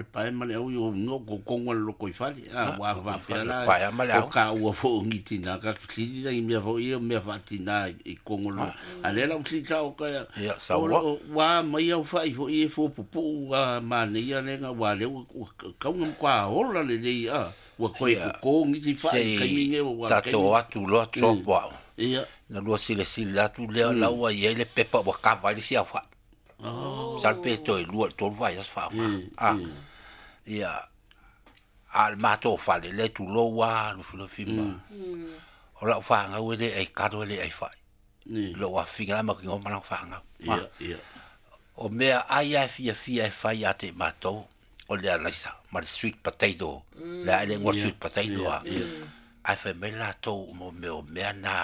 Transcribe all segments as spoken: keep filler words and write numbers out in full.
Pae ma le au i o ngo ko kongo le loko i fale a wa va pe la Pae ma le o au. Ka ua fo ngi tina ka sili la i mea fo ia mea fa tina i kongo lo a le la u ta o ka Ia, o saua. O wa mai au fa i fo i fo pupu a ma ne ia le nga wa le u ka nga kwa ola le le a ua koe Ia. ko ngi ti fa Se i kai nge wa tatou atu loa tropo au. Ia. Na lua silasila atu lea la ua i ai le pepa ua kava ai le sia fa'i. Oh. Sa le pe toe lua i le tolu vaiaso fa'aoga. Mm, A. mm. Ia a le matou fale le tulou a lufilufi ma. O la'u fagau e lē ai kalo e lē ai fa'i. Ni. Lo'u afiga la ma kigo ma lau fagau. Ia, ia. O mea ai a e fiafia e fai ia te i matou o le alaisa ma le sweet potato le a e le igoa Ia, sweet potato ia, a. ia. Ae fai mai latou mo mea o mea na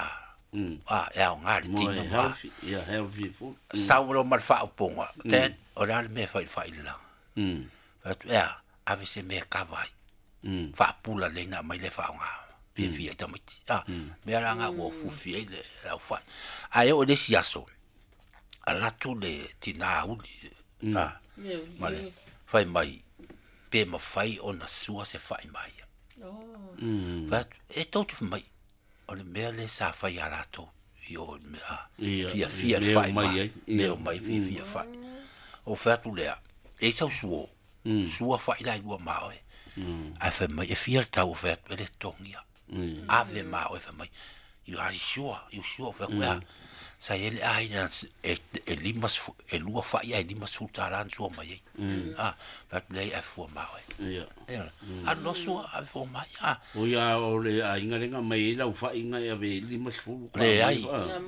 Mm. a e aogā le Mo tino e ma. Healthy, ia healthy food. Sau lo ma le fa'aupoga te o le a le mea e fa'ilifa'i le laga. Mm. Fai atu ea ave se mea e kava ai. Mm. Fa'apula leina mai le fa'aogā fiafia i tamaiti a mea la ga ua fufi ai le au fa'i ae oo i le isi aso alu atu le tinā uli a ma le fai mai pe mafai ona sua se fa'i ma ia. Mm. Fai atu e tou te mai o le mea le sa fai iā latou i o le mea Ia, fiafia le mea fa'i o mai ma ai, ia. mea o mai fiafia fa'i o fai atu lea e i sau suo sua fa'i la i lua ma oe ae fai mai e fia le tau o fai atu e le togia Mm. ave ma oe fai mai you are sure you sure fai atu ea sa i ai le aiga e e lima sefu- e lua fa'i ae lima sefulu tālā na sua mai ai a fai atu leai ae fua ma oe. Ia. Ia, alu loa sua ave fua mai a. O ia o le aiga lenga mai ai lau fa'iga e ave i lima sefulu. Leai. Ah,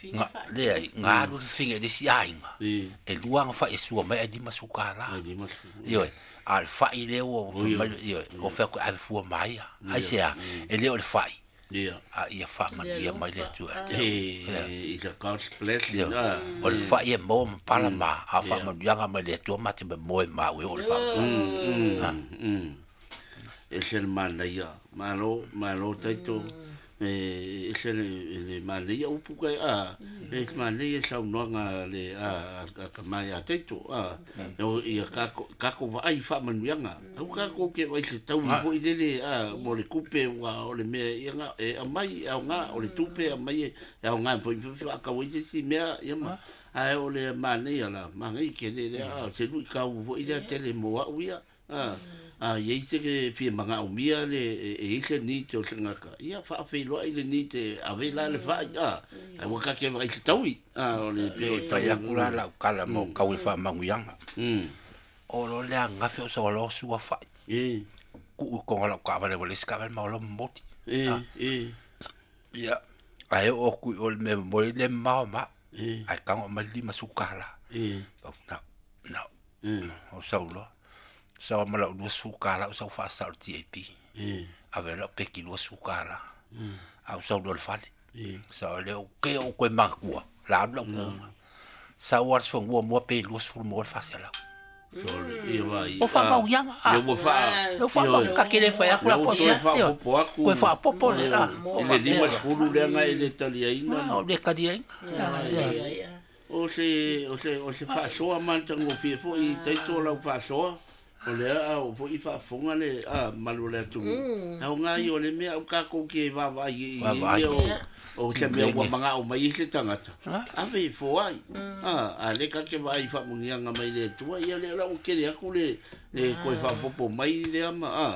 Nga leai ga alu le figa i le isi aiga I. e lua aga fa'i e sua mai ae lima sefulu kālā. Ai lima sefulu. Ioe, a le fa'i lea ua fai Oi, mai ioe o fai atu e ave fua mai ia ai se a e le o le fa'i Ia. a ia fa'amanuia mai le Atua ia te au. E, it's a God's blessing. Ioe. Ah. O le fa'i e maua ma pala ma a fa'amanuiaga mai le Atua ma te moe ma ue o le fa'amanuiaga. Mm, mm. E se le manaia. Malo, malo taito. E e se le le manaia upu kai a. E se manaia saunoaga le a a ka mai a taito a. O ia kako kako vaai fa'amanuiaga. Au kako ke vai se taui foi lele a mo le kupe ua o le mea ia nga e aumai e aoga o le tupe aumai e aoga foi fa'akau ai se isi mea ia ma. Ae o le manaia la magai ke le lea a se lui kau foi lea tele mo a'u ia. A a iai se ke fia maga'omia le e e i se ni te o se gaka ia fa'afeiloa'i le ni te ave la le fa'i a ae ua kake vaai se taui a o le pe o E fai atu la la'u kala mo kau i fa'amanuiaga mm o lo le agafi o sa sua fa'i e ku'u i koga la'u ka'avale ua le isi ka'avale ma o lo momoli. E e Ia ae oo aku i o le mea momoli le mamao ma e ae tago mai le lima sefulu kālā. E na na e o sau loa sau ma la'u lua sefulu kālā o sau fa'asa'o le T A P e ave la'u peki lua sefulu kālā a ou sau loa i le fale e sau le o ke o koe makua la alu la'u kuga sau a le sefagua mua pe lua sefulu mua le fa'asealau. Sorry ia vai. O fa'amauiaga a le ua fa'a le fa'amau ka ke le fai aku la Le ua po toe sia fa'apopo aku. koe fa'apopo le a I le lima sefulu leaga e le taliaina. O le kaliaina. O se o se o se fa'asoa ma le tagofie fo'i taito lau fa'asoa o lea a o fo'i fa'afofoga le a malu o le atunuu aoga ia o le mea au kakou ke vaavaai i Vaavaai. mea o o se mea ua maga'o mai ai se tagata ave e foai a a le kake vaai fa'amuniaga mai le Atua ia lea la ua kele aku le le koe fa'apopo mai lea ma a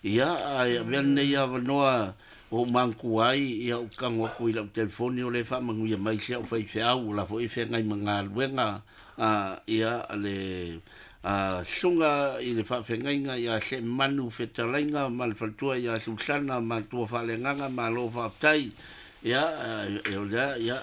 ia ae avea lenei avanoa o magutua ai ia ou kago aku i la'u telefoni o le fa'amanuia mai se a'u faifeau o la fo'i feagai ma galuega a ia le a suga i le fa'afegaiga ia se'emanu fetalaiga ma le faletua ia Susana ma tua fa'alegaga malo fa'afetai ia e o lea ia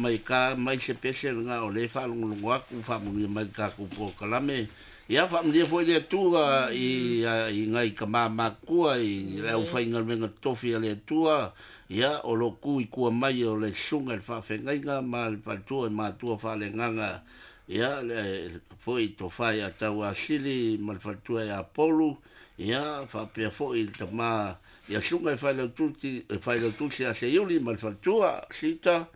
mai ka mai se pese lega o le fa'alogologo aku fa'amanuia mai le takou polokalame ia fa'amanuia foi le Atua i i gai ka mamakua i le aufaigaluega totofi a le Atua ia o lo ku i kua mai o le suga i le fa'afegaiga ma le faletua i matua fa'alegaga ia le fo'i tofā ia Tauasili ma le faletua ia Polu ia fa'apea fo'i le tamā ia suga i failautusi e failautusi ia Seiuli ma le faletua Sita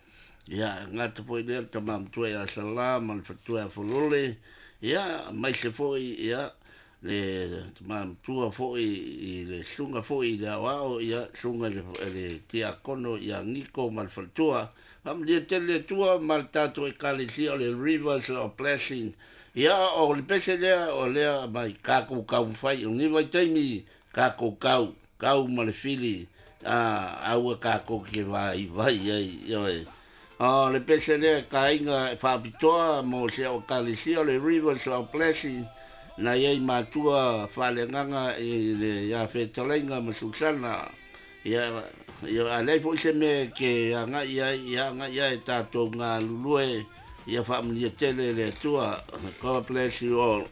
ia gata fo'i lea le tamā matua ia Salā ma le faletua ia Folole ia mai se fo'i ia Le tama fo'i i le suga fo'i i le aoao ia suga le le tiakono ia Niko ma le faletua. Faamanuia tele le Atua ma le tatou ekalesia o le Rivers of Blessing. Ia o le pese lea o lea mai kakou taumafai o lenei vaitaimi kakou kau kau ma le fili a aua kakou ke vaivai ai ioe. O le pese lea kaiga e faapitoa mo se o ekalesia o le Rivers of Blessing na iai matua faaleagaga i le ia fetalaiga ma Susana ia ia alai foi se mea ke agai ai ia agai ai tatou galulue ia faamanuia tele le Atua. God bless you all.